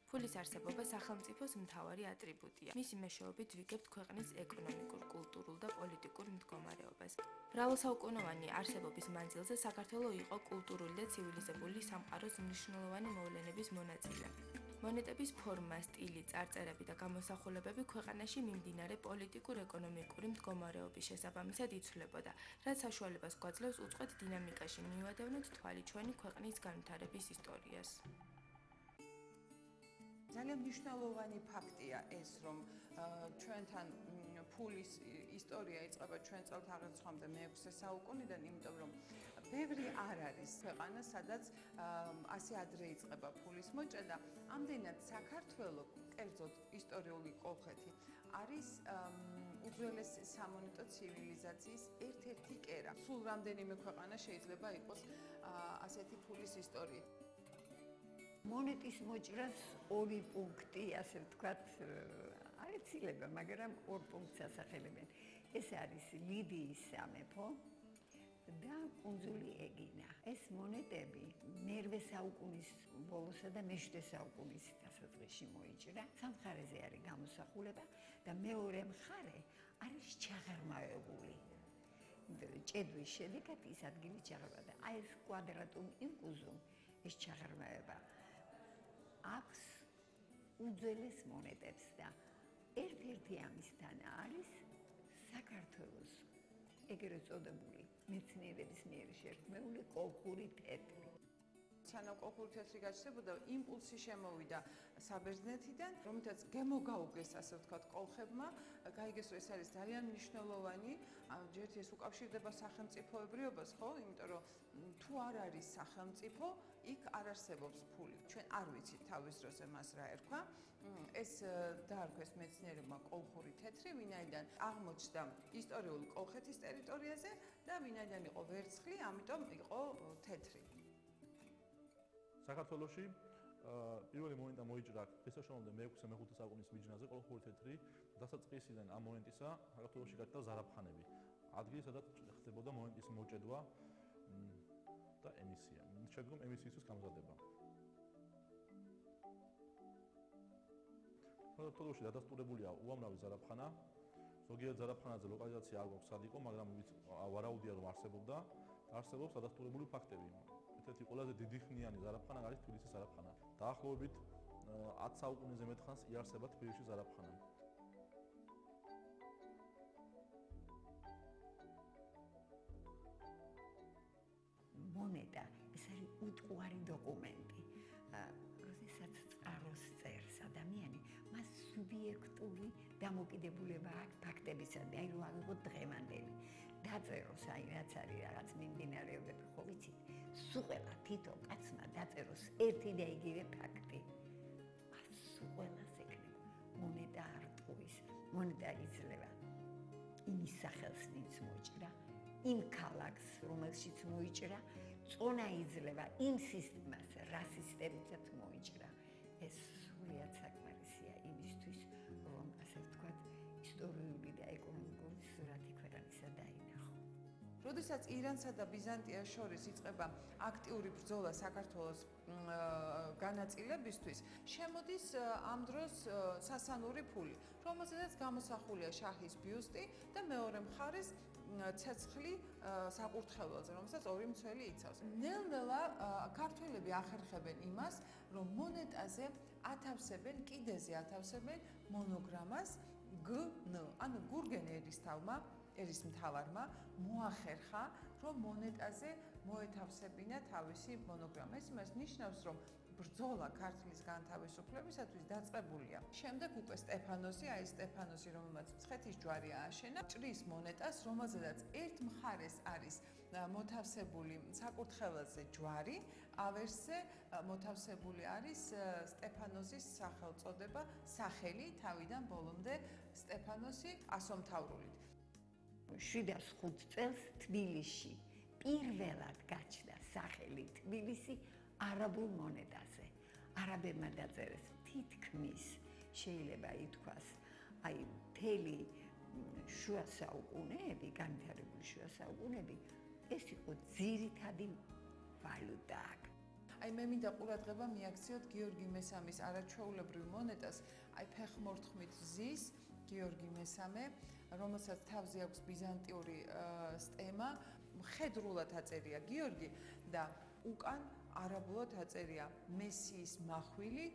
ფულის არსებობა სახელმწიფოს მთავარი ატრიბუტია. მისი მეშვეობით ვიგებთ ქვეყნის ეკონომიკურ, კულტურულ და პოლიტიკურ მდგომარეობას. მრავალსაუკუნოვანი არსებობის მანძილზე საქართველო იყო კულტურული და ცივილიზებული სამყაროს მნიშვნელოვანი მოვლენების მონაწილე. მონეტების ფორმა, სტილი, წარწერები და გამოსახულებები ქვეყანაში მიმდინარე პოლიტიკურ-ეკონომიკური მდგომარეობის შესაბამისად იცვლებოდა, რაც საშუალებას გვაძლევს უწყვეტ დინამიკაში მივადევნოთ თვალი ჩვენი ქვეყნის განვითარების ისტორიას. ძალიან მნიშვნელოვანი ფაქტია ეს, რომ ჩვენთან ფულის ისტორია იწყება ჩვენ წელთაღრიცხვამდე მე-6 საუკუნიდან, იმიტომ რომ ბევრი არ არის ქვეყანა, სადაც ასე ადრე იწყება ფულის მოჭრა და ამდენად საქართველო, კერძოდ ისტორიული კოლხეთი, არის უძველესი სამონეტო ცივილიზაციის ერთ-ერთი კერა. სულ რამდენიმე ქვეყანა შეიძლება იყოს ასეთი ფულის ისტორია. მონეტის მოჭრას ორი პუნქტი, ასე ვთქვათ, არ იცილება, მაგრამ ორ პუნქტს ასახელებენ. ეს არის ლიდიის სამეფო და კუნძული ეგინა. ეს მონეტები მე-8 საუკუნის ბოლოსა და მე-7 საუკუნის დასაწყისში მოიჭრა. სამხარეზე არის გამოსახულება და მეორე მხარე არის ჩაღრმავებული. ჭედვის შედეგად ის ადგილი ჩაღრმავდა და აი ეს კვადრატუმ ინკუზუმ, ეს ჩაღრმავება აქვს უძველეს მონეტებს და ერთ-ერთი ამისთან არის საქართველოს ეგრეთ წოდებული მეცნიერების მიერ შექმნილი კოლხური თეთრი. სანამ კოლხური თეთრი გაჩნდებოდა, იმპულსი შემოვიდა საბერძნეთიდან, რომელთაც გემოგაუგეს, ასე ვთქვათ, კოლხებმა, გაიგეს, რომ ეს არის ძალიან მნიშვნელოვანი, ჯერ ეს უკავშირდება სახელმწიფოებრიობას, ხო? იმიტომ რომ თუ არ არის სახელმწიფო, იქ არ არსებობს ფული. ჩვენ არ ვიცით თავის დროზე მას რა ერქვა. ეს დაარქვეს მეცნიერებმა კოლხური თეთრი, ვინაიდან აღმოჩნდა ისტორიული კოლხეთის ტერიტორიაზე და ვინაიდან იყო ვერცხლი, ამიტომ იყო თეთრი. საქართველოში პირველი მონეტა მოიჭრა ქრისტესაშუალომდე მე-6-მე-5 საუკუნის მიჯნაზე კოლხური თეთრი. დასაწყისიდან ამ მონეტისა საქართველოში გაჩნდა ზარაფხანები. ადგილი, სადაც ხდებოდა მონეტის მოჭედვა და ემისია. შედგომ ემისიისთვის გამზადება. საქართველოში დადასტურებულია უამრავი ზარაფხანა. ზოგიერთ ზარაფხანაზე ლოკალიზაცია არ გვაქვს სად იყო, მაგრამ ვარაუდია რომ არსებობდა. არსებობს დადასტურებული ფაქტები. ერთ-ერთი ყველაზე დიდი ხნიანი ზარაფხანა არის თბილისის ზარაფხანა. დაახლოებით 10 საუკუნეზე მეტ ხანს იარსება თბილისში ზარაფხანა. მონეტა ეს არის უტყუარი დოკუმენტი. როდესაც წყაროს წერს ადამიანი, მას სუბიექტური დამოკიდებულება აქვს ფაქტებისადმი, აი რომ ავიღოთ დღევანდელი. დაწეროს, აი რაც არის რაღაც მიმდინარეობები, ხო ვიცით? სულ თითო კაცმა დაწეროს ერთი და იგივე ფაქტი. სულ ყველას ეკნება. მონეტა არ ტყუის, მონეტა იძლევა იმის სახელს, ვინც მოჭრა, იმ ქალაქს, რომელშიც მოიჭრა, წონა იძლევა იმ სისტემას, რა სისტემითაც მოიჭრა. ეს სრულიად საკმარისია იმისთვის, რომ ასე ვთქვათ, ისტორიული და ეკონომიკური სურათი ქვეყანისა დაინახო. როდესაც ირანსა და ბიზანტიას შორის იწყება აქტიური ბრძოლა საქართველოს განაწილებისთვის, შემოდის ამ დროს სასანური ფული, რომელზედაც გამოსახულია შაჰის ბიუსტი და მეორე მხარეს ცეცხლი საკურთხეველზე, რომელსაც ორი მცველი იცავს. ნელ-ნელა ქართველები ახერხებენ იმას, რომ მონეტაზე ათავსებენ, კიდეზე ათავსებენ მონოგრამას GN, ანუ გურგენ ერისმთავარმა მოახერხა, რომ მონეტაზე მოეთავსებინა თავისი მონოგრამა. ეს იმას ნიშნავს, რომ ბრძოლა ქართლის განთავისუფლებისათვის დაწყებულია. შემდეგ უკვე სტეფანოსი, აი სტეფანოსი, რომელმაც მცხეთის ჯვარი ააშენა, ჭრის მონეტას, რომელზედაც ერთ მხარეს არის მოთავსებული საკურთხეველზე ჯვარი, ავერსზე მოთავსებული არის სტეფანოსის სახელწოდება, სახელი თავიდან ბოლომდე სტეფანოსი ასომთავრულით. 705 წელს თბილისში პირველად გაჩნდა სახელი თბილისი არაბულ მონეტაზე. არაბებმა დაწერეს თითქმის შეიძლება ითქვას, აი მთელი შუა საუკუნეები, განვითარებული შუა საუკუნეები, ეს იყო ძირითადი ვალუტა. აი მე მინდა ყურადღება მიაქციოთ გიორგი მესამის არაჩვეულებრივ მონეტას, აი ფეხმორთმით ზის გიორგი მესამე, რომელსაც თავზე აქვს ბიზანტიური სტემა, მხედრულად აწერია გიორგი და უკან არაბულად აწერია მესიის მახვილი